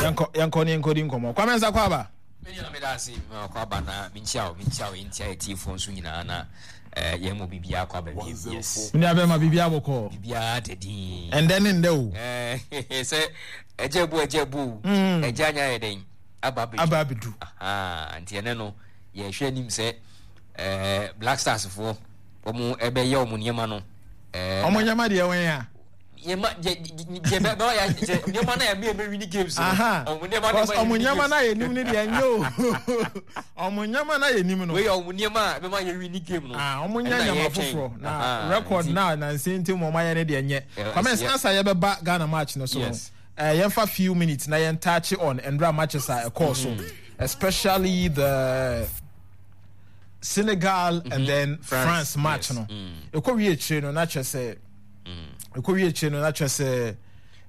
Yɛnkɔ yɛnkɔ ne yɛnkɔ di nkɔmɔ. Kwame Nsa kɔ aba. Me nua meda ase ma kɔ aba na menkyia wo menkyia wo ntia atiefoɔ nso nyinaa na eh, yɛn mu biribiara kɔ aba biem yes. Me nua bɛma biribiara bɔkɔɔ. Biribiara da din. Ɛndɛ ne ndɛ o. Eh, sɛ ɛgya bu ɛgya bu o. Mm. Ɛgya anya yɛ dɛn aba abɛdu. Aba abɛdu. Aha nti ɛnɛ no yɛhwɛ anim sɛ eh, Black Stars foɔ wɔn ɛbɛyɛ wɔn nneɛma no. Eh, wɔn nneɛma deɛ wɔn yɛ a. Nneɛma deɛ deɛ bɛ bɛ yɛ sɛ nneɛma na yɛ mi yɛ wini games no. Ɔmo nneɛma na yɛ ɔmo nneɛma na yɛ nim ne deɛ nye o. Ɔmo nneɛma na yɛ nim no. Wei yɛ ɔmo nneɛma a ɛbɛma yɛ wini game no. Ah, ɔmo nyɛ nneɛma foforɔ na record na na nse nti mo ɔmo ayɛ ne deɛ nyɛ. Kwame ansa yɛ bɛba Ghana match no so no. Eh, yɛnfa few minutes na yɛn touch on ndra matches a ɛkɔɔ so especially the Senegal and then France match no. Ɛkɔ wie akyire no na kyerɛ sɛ ɛkɔ wie akyire no na kyerɛ sɛ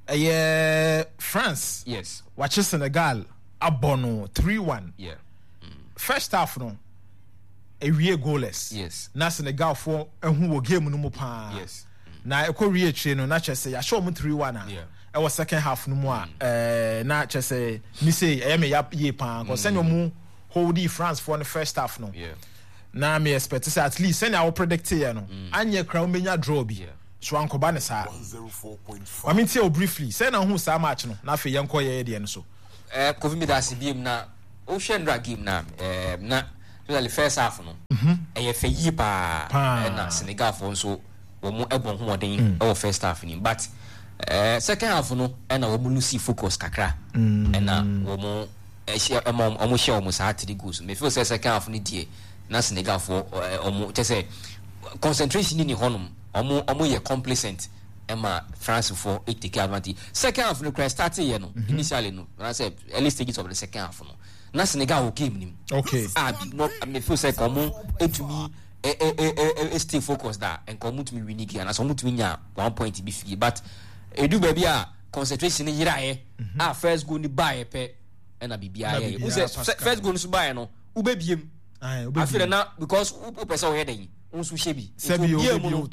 ɛyɛ France yes wakye Senegal abɔ no 3-1 yeah. First half no ɛwie goalless yes na Senegal foɔ ɛho wɔ game no mu paa yes na ɛkɔ wie akyire no na kyerɛ sɛ yɛahyɛ wɔn 3-1 a yeah. ɛwɔ second half no mu a ɛɛ na kyerɛ sɛ mi se ɛyɛ me ya yie paa kɔ sɛnea wɔn holdi France foɔ no first half no yeah. Na me expect sɛ at least sɛnea wo predict yɛ no anyɛ kora wobɛnya draw bi so ankɔba ne saa. Ma me ntie wo briefly sɛn na wohu saa match no na afei yɛnkɔ yɛyɛ deɛ no so. Eh, Kofi meda ase biem na wohwɛ nnora game na eh, na especially first half no ɛyɛ fɛ yie paa ɛna Senegalfoɔ nso wɔn ɛbɔ ho wɔden ɛwɔ first half ni but eh, second half no ɛna wɔn lose focus kakra ɛna wɔn ɛhyɛ ɛma wɔn hyɛ wɔn saa three goals me feel sɛ second half no deɛ na Senegal foɔ wɔn kyɛ sɛ concentration ni hɔnom wɔn wɔn yɛ complacent ɛma France foɔ take advantage second half no kura start yɛ no mhm. initially no na sɛ early stages of the second half no na Senegal wɔ game nim okay ah no me feel sɛ wɔn etumi ɛ ɛ ɛ ɛ stay focused da nka wɔn tumi win game anaasɛ wɔn tumi nya one point bi fie but edu baabi a concentration no yeraeɛ mhm. a first goal no baeɛ pɛ ɛna biribiara yɛ wo sɛ first goal no so baeɛ no wobɛbiem afei na because wopɛ sɛ woyɛ dɛn wo nso hyɛ bi sɛbi obie mu no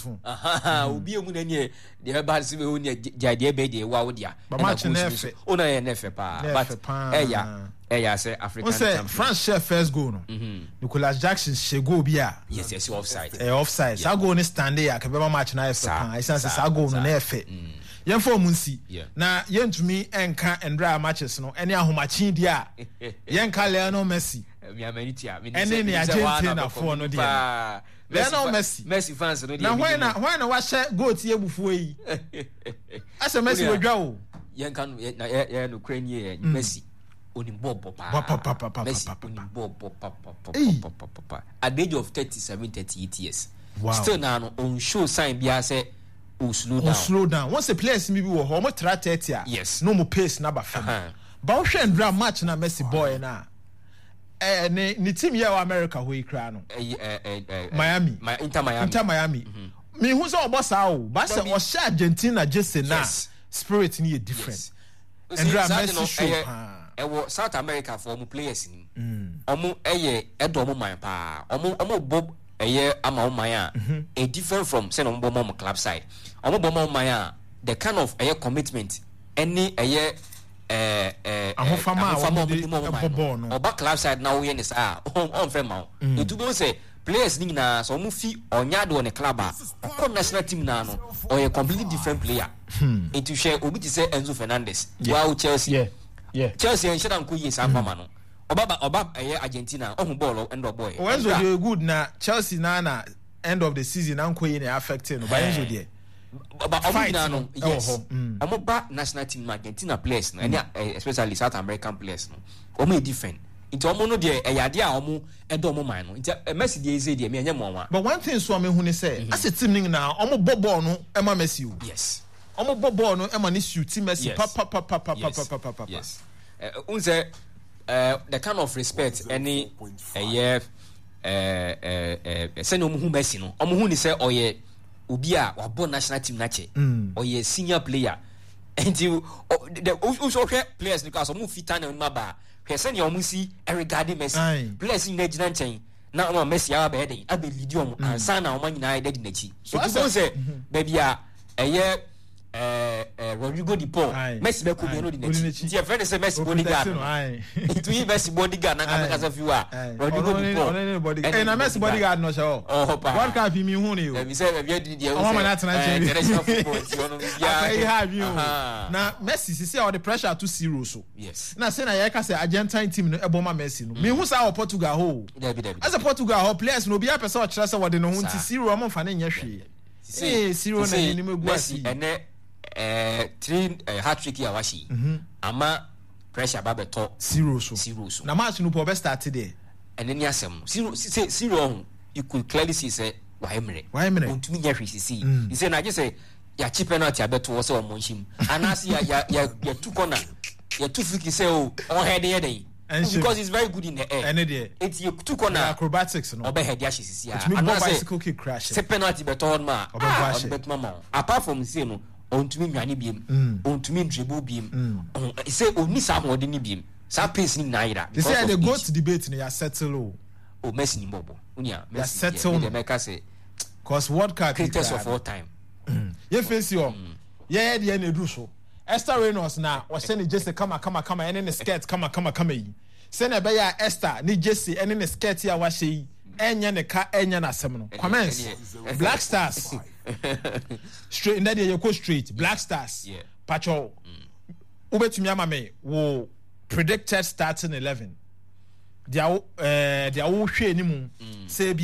obie mu na neɛ deɛ ɛba sɛ bɛwo neɛ gyae deɛ ɛbɛyɛ deɛ ɛwa wo dea ɛna goals no so wo na yɛ ne fɛ paa but ɛya ɛya sɛ African champion France hyɛ first goal no mhm. Nicolas Jackson hyɛ goal bi a yes yes offside ɛyɛ offside saa goal no stand yɛ akɛbɛma match na ayɛ fɛ paa ɛsiane sɛ saa goal no na ɛyɛ fɛ mm. Yɛmfa wɔn nsi. Na yɛntumi nka ndra matches no ɛne ahomakye deɛ a yɛnka Lionel Messi ɛne ne Argentina foɔ no deɛ no. Lionel Messi. Messi fans no deɛ. Na hwan na hwan na wahyɛ goal ti abufuo yi? Asɛ Messi wadwa o. Yɛnka no na yɛ yɛ no kura nie yɛ Messi onim bɔɔl bɔ paa. Messi onim bɔɔl bɔ papapapapapa. At the age of 37 38 years. Wow. Still na no on show sign biara sɛ o slow down. O slow down. Wɔn sɛ players bi wɔ hɔ wɔn tra 30 a. Yes. Na wɔn pace na ba fam. Ba wohwɛ ndra match na Messi bɔɔɛ na ɛɛ ne ne team yɛ wɔ America hɔ yi koraa no. Ɛyi ɛɛ ɛɛ. Miami. Ma Inter Miami. Inter Miami. Mm-hmm. Mihu sɛ ɔbɔ saa o. Ba sɛ ɔhyɛ Argentina jersey na spirit ni yɛ different. Ndra Messi show paa. Ɛwɔ South America fo ɔmo players ni. Ɔmo ɛyɛ ɛdɔ ɔmo man paa. Ɔmo ɔmo bɔ ɛyɛ ama ɔmo man a ɛ different from sɛnea ɔmo bɔ ma ɔmo club side. Ɔmo bɔ ma ɔmo man a the kind of ɛyɛ commitment ɛne ɛyɛ ɛɛ ɛɛ ahofama a wɔn de ma ɔmo man no. Ɔba club side na ɔyɛ ne saa a ɔnfɛ ma wo. Etu bɛ sɛ players ne nyinaa sɛ ɔmo fi ɔnya ade wɔ ne club a ɔkɔ national team naa no ɔyɛ completely different player. Nti hwɛ obi te sɛ Enzo Fernandez wow Chelsea. Chelsea ɛnhyɛ da nkɔ yie saa fama no. Ɔba ba ɔba ɛyɛ Argentina ɔhu bɔɔl ɛnna ɔbɔɔyɛ. Oh, Enzo deɛ good na Chelsea na na end of the season na nkɔ yie na affect no ba Enzo deɛ. Ba ɔmo nyinaa no yes ɔmo ba national team no Argentina players no ɛne especially South American players no ɔmo yɛ different nti ɔmo no deɛ ɛyɛ adeɛ a ɔmo ɛdɔ ɔmo man no nti Messi deɛ ɛsɛ deɛ mi ɛnyɛ mo nwa. But one thing so a mehu ne sɛ asɛ team no nyinaa ɔmo bɔ bɔɔl no ɛma Messi o. Yes. Ɔmo bɔ bɔɔl no ɛma ne suit Messi papapapapapapapa. Yes. N sɛ the kind of respect ɛne ɛyɛ sɛnea ɔmo hu Messi no ɔmo hu ne sɛ ɔyɛ obi a wabɔ national team n'akyɛ ɔyɛ senior player nti wosɔ hwɛ players no kora sɛ ɔmo fi tunnel no mu aba a hwɛ sɛnea ɔmo si regard Messi players nyinaa gyina nkyɛn na ɔmo Messi aba bɛyɛ den abɛ lead ɔmo ansa na ɔmo nyinaa yɛ dɛ di n'akyi so nti sɛ baabi a ɛyɛ. Eh, eh, Rodrigo de Paul. Messi bɛkɔ bi ɔno di n'akyi. Nti yɛfrɛ no sɛ Messi bodyguard no. Nti yi Messi bodyguard na kasa kasa fi hɔ a, Rodrigo de Paul. Ɔno ne bodyguard. Ɛna Messi bodyguard no hyɛ hɔ. Ɔhɔ paa. World Cup yi mi hu ne o. Ɛbi sɛ ɛbi adi deɛ ɔmo sɛ eh, international football nti ɔno biara. Akɔyi ha adwene o. Na Messi sisi a ɔde pressure ato Ciro so. Yes. Na sɛ na yɛka sɛ Argentine team no ɛbɔ ma Messi no. Mi hu saa wɔ Portugal hɔ o. Dabi dabi. Ɛsɛ Portugal hɔ players no obiara pɛ sɛ ɔkyerɛ sɛ wɔde ne ho nti Ciro ɔmo nfa ne nyɛ hwee. Sisei Ee, Ciro na sisei n'anim agu ase Messi yi. ɛnɛ ɛɛ three ɛɛ hat trick yi a wahyɛ yi ama pressure ba bɛtɔ Ciro so. Ciro so. Na match no po ɔbɛ start deɛ. Ɛnɛ ni asɛm no. Ciro sisei Ciro ɔho you could clearly see sɛ wayɛ mmerɛ. Wayɛ mmerɛ. Ontumi nyɛ hwee sisei. Sisei no agye sɛ yɛakye penalty abɛto hɔ sɛ ɔmmɔ nhyɛ mu anaasɛ yɛ yɛ yɛ yɛtu corner yɛtu free kick sɛ o ɔnhɛde yɛ dɛn. Ɛnhyɛ Because he's very good in the air. Ɛne deɛ. Eti yɛtu corner The a acrobatics no. ɔbɛ head ahyɛ sisi a Otumi bɔ anaasɛ bicycle kick kura hyɛ. sɛ penalty bɛtɔ hɔ nom a Ɔbɛbɔ ah, ahyɛ. ɔde bɛtuma ma wo apart from sei no ɔntumi nwane biem ɔntumi ndribble biem ɔho sɛ ɔnni saa ahoɔden no biem saa pace no nyinaa yera They say because the of goat age debate no yɛ settle o. oh Messi ni bɔbɔ wonia Messi deɛ settle me no. deɛ mɛka sɛ Cause World Cup yi greatest koraa of no. all time Yɛ face hɔ. Yɛyɛ deɛ na edu so. Esther Reynolds na ɔhyɛ ne jersey kama kama kama ɛne ne skirt kama kama kama yi. Sɛnea ɛbɛyɛ a Esther ne jersey ɛne ne skirt yi a wahyɛ yi ɛnyɛ ne ka ɛnyɛ n'asɛm no. Comments Black Stars straight ndɛ deɛ yɛkɔ straight Black Stars Yeah. pakyɛw wobɛtumi ama me wo predicted starting 11 deɛ wo ɛɛ deɛ wohwɛ anim sɛ ebi a.